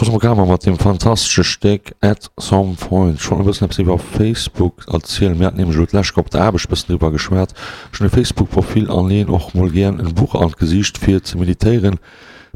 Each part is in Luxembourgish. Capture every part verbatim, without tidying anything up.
Cosmogramma mat deem fantastesche Stéck At Some Point. Ech wollt e bëssen eppes iwwer Facebook erzielen. Mir haten nämlech elo d'lescht Woch op der Aarbecht e bëssen driwwer geschwat. Ech hunn e Facebook-Profil an leeën och mol gären en Buch an d'Gesiicht fir ze meditéieren.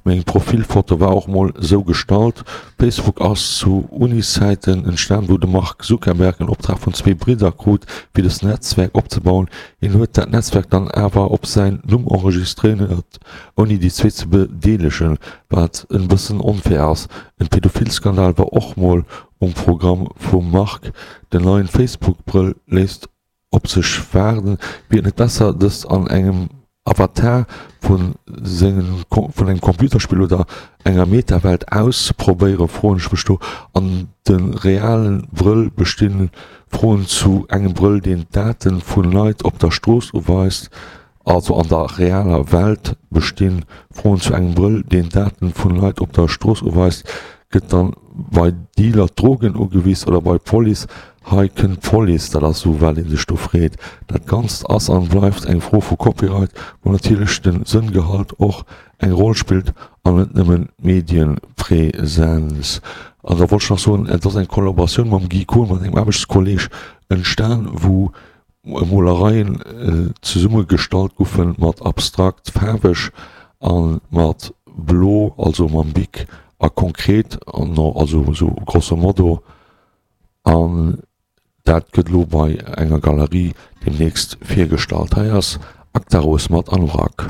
Meng Profilfoto war och mol sou gestallt. Facebook ass zu Uniszäiten entstan, wou de Mark Zuckerberg en Optrag vun zwee Bridder krut, fir dëst Netzwerk opzebauen. Hien huet dat Netzwerk dann awer op säin Numm enregistréiert, ouni déi zwee ze bedeelegen, wat en bëssen onfair ass. En Pädophilskandal war och mol um Programm vum Mark. Den neien Facebook-Brëll léisst op sech waarden. Wier et net besser, dëst an engem Avatar vun sengem vun engem Computerspill oder enger Metawelt auszeprobéieren, froen ech mech do. An de realen Brëll bestinn Froen zu engem Brëll, deen d'Daten vun Leit op der Strooss uweist. Also an der realer Welt bestinn Froen zu engem Brëll, deen d'Daten vun Leit op der Strooss uweist. Gëtt dann bei Dealer Drogen ugewis oder bei Police? Hei kënnt d'Police, dat ass esou wat ee sech do freet. Dat Ganzt ass an bleift eng Fro vu Copyright, wou natierlech den Sënngehalt och eng Roll spillt an net nëmmen d'Medienpräsenz. An da wollt ech nach soen, et ass eng Kollaboratioun mam Guy Kohn, mat engem Aarbechtskolleg entstan, wou Molereien zesummegestallt goufen mat abstrakt faarweg a mat blo, also mam Bic a konkret, also esou grosso modo. An dat gëtt elo bei enger Galerie deemnächst virgestallt. Hei ass Actaros mat Anorak.